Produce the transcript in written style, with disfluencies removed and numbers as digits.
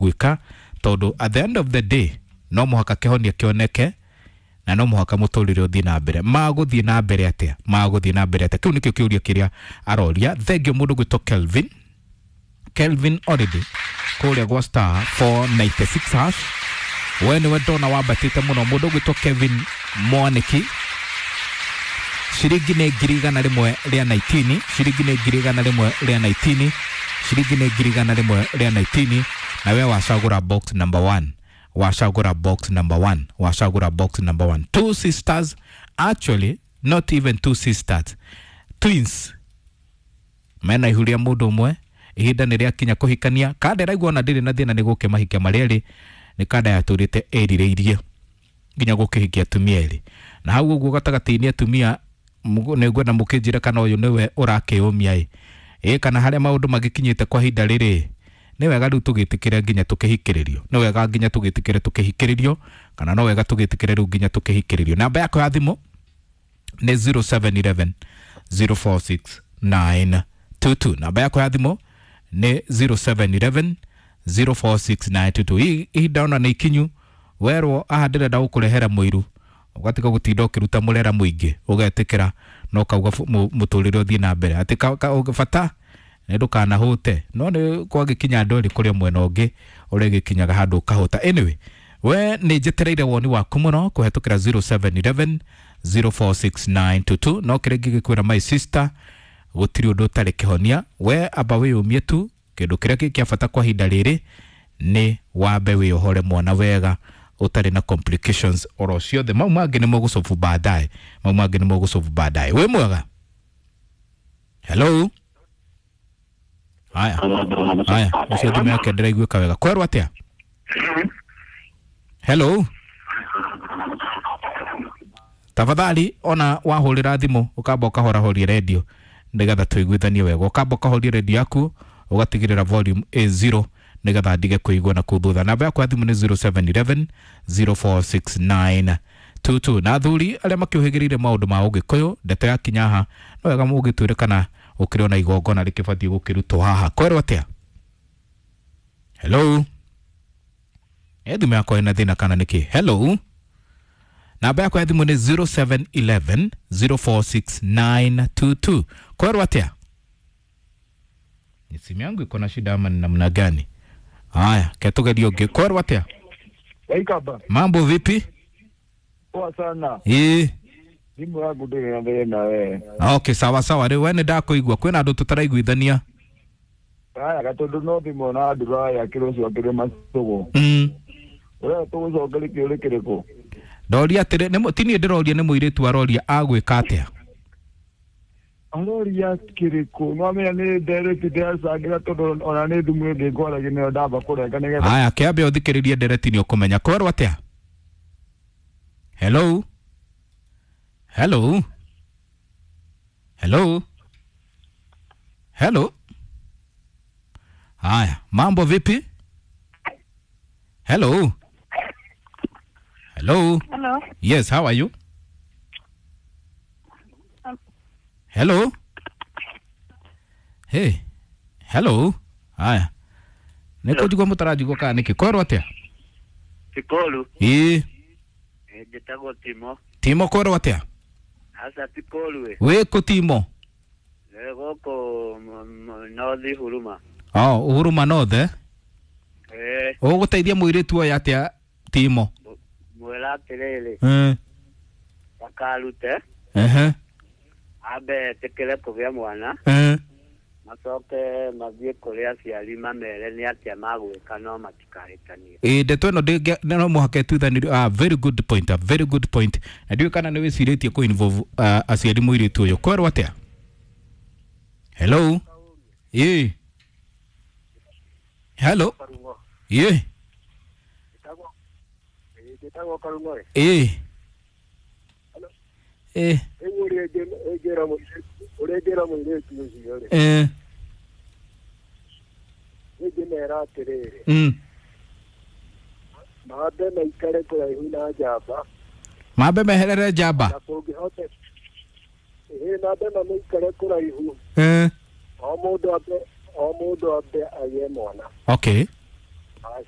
Gwĩka tondũ at the end of the day no mũhaka kĩhonia kĩoneke na no mũhaka mũtũrĩre ũthiĩ na mbere. Magũthiĩ na mbere atĩa? Magũthiĩ na mbere atĩa? Kĩu nĩkĩo kĩũria kĩrĩa aroria. Thengio mũndũ gwĩtwo Kelvin. Kelvin already kũrĩa gwa *496# we nĩwe ndona wambatĩte mũno. Mũndũ ũgwĩtwo Kevin Mwaniki, ciringi nĩ 119,000, ciringi nĩ 119,000, ciringi nĩ 119,000. Na we wacagũra box number one, wacagũra box number one, wacagũra box number one. Two sisters, actually not even two sisters, twins, mena ihu rĩa mũndũ ũmwe. Ihinda nĩ rĩakinya kũhikania. Kanda ĩraigua ona ndĩrĩ na thĩna nĩ gũkĩmahikia marĩ erĩ. Nĩ kanda yatũrĩte ĩrirĩirie nginya gũkĩhikia atumia erĩ na hau ũguo gatagatĩ-inĩ. Atumia, nĩ ngwenda mũkĩnjĩre kana ũyũ nĩwe ũrakĩũmia ĩ kana harĩa maũndũ magĩkinyĩte kwa ihinda rĩrĩ, nĩ wega rĩu tũgĩtĩkĩre nginya tũkĩhikĩrĩrio, nĩ wega nginya tũgĩtĩkĩre tũkĩhikĩrĩrio, kana no wega tũgĩtĩkĩre rĩu nginya tũkĩhikĩrĩrio. Namba yakwa ya thimũ nĩ 0711 046 922. Namba yakwa ya thimũ nĩ 0711 046922. Ihinda ona nĩ ikinyu werwo aha ndĩrenda gũkũrehera mũiru, ũgatiga gũtinda ũkĩruta mũrera mũingĩ, ũgetĩkĩra na ũkauga mũtũrĩre ũthiĩ na mbere, atĩ bata nĩ ndũkanahũte. No nĩ kwagĩkinya andũ erĩ kũrĩa mwena ũngĩ ũrĩa ĩgĩkinyaga handũ ũkahũta. Anyway, we nĩ njetereire woni waku mũno kũhetũkĩra 0711 046922. No kĩrĩa ngĩgĩkwĩra, my sister, gũtirĩ ũndũ ũtarĩ kĩhonia. We amba wĩyũmie tu. Kĩndũ kĩrĩa kĩ kĩa bata kwa ihinda rĩrĩ nĩ wambe wĩohore mwana wega ũtarĩ na complications oro ciothe. Mau mangĩ nĩ mũgũcobu baadaye, mau mangĩ nĩ mũgũcobu baadaye. Wĩ mwega? Hello. Haya haya, ũcio thimũ yake ndĩraiguĩka wega. Kwerwo atĩa? Hello. Tafadhali ona wahũrĩra thimũ ũkamba ũkahorahoria redio nĩgetha tũiguithanie wega. Ũkamba ũkahoria redio yaku, ũgatigĩrĩra volume ĩ zero nĩgetha ndige kũigua na kũu thutha. Namba yakwa ya thimũ nĩ 0711 0469 22. Na athuri arĩa makĩũhĩgĩrĩire maũndũ ma ũgĩkũyũ, ndeto ya kinya haha no wega mũgĩtwĩre kana ũkĩrĩ ona igongona rĩkĩbatiĩ gũkĩrutwo haha. Kwerwo atĩa? Hello. Ĩ thimũ yakwa ĩna thĩna kana nĩkĩ? Hello. Namba yakwa ya thimũ nĩ 0711 046922. Kwerwo atĩa? Ni simu yangu iko na shida ama ni namna gani? Haya, ketugerie ũngĩ. Kwerwo atĩa? Waikaba. Mambo vipi? Poa sana. Ĩĩ. Thimũ yaku ndĩrĩ na thĩna we. Okay, sawa sawa. Rĩu we nĩ ndakũigua, kwĩna andũ tũtaraiguithania. Haya gatũndũ no thimũ na nduraya kĩrũcio kĩrĩ macũgũ. Ũrĩa tũgũcokeria kĩũrĩ kĩrĩkũ? Ndoria atĩrĩ, ti niĩ ndĩroria, nĩ mũirĩtu aroria agwĩka atĩa. Aroria kĩrĩkũ? Nwamenya nĩ ndereti ndĩracangĩra tondũ ona nĩ thimũ ĩngĩ ngwaragia nĩyo ndamba kũrenga nĩgetha. Haya, kĩambe ũthikĩrĩrie ndereti nĩ ũkũmenya. Kwerwo atĩa? Hello. Hello. Hello. Hello. Haya, mambo vipi? Hello. Hello. Hello. Yes, how are you? Hello. Hey. Hello. Haya. Nĩ kũnjigua mũtaranjigua kana nĩkĩ? Kwerwo atĩa? Tikolu. Ĩĩ. Njĩtagwo Timo. Timo, kwerwo atĩa? Aca Tikolu ĩ. Wĩ kũ, Timo? Nĩ gũkũ North Huruma. Oh, Huruma North, eh? Eh. Ũgũteithia mũirĩtu ũyũ atĩa, Timo? Mwĩra atĩrĩrĩ, ndakarute. Ambe etĩkĩre kũgĩa mwana. Macoke mathiĩ kũrĩ aciari mamere nĩ atĩa magwĩka, no matikahĩtanie. Ĩ ndeto ĩno no mũhaka ĩtuithanĩrio. Ah, very good point, a very good point. Na ndiũĩ kana nĩ wĩcirĩtie kũ involve aciari mũirĩtu ũyũ. Kwerwo atĩa? Hello. Ĩ. Hello. Ĩ. Njĩtagwo Karung'o. Ĩ. Ĩ. Rĩu ũrĩa ingĩra mũirĩtu ũcio rĩ, ingĩmera atĩrĩrĩ, mambe maikare kũraihu na njamba. Mambe meherere njamba. Na kũngĩhoteka ĩĩ mambe mamũikare kũraihu. O mũndũ ambe agĩe mwana. Okay. Magacoka.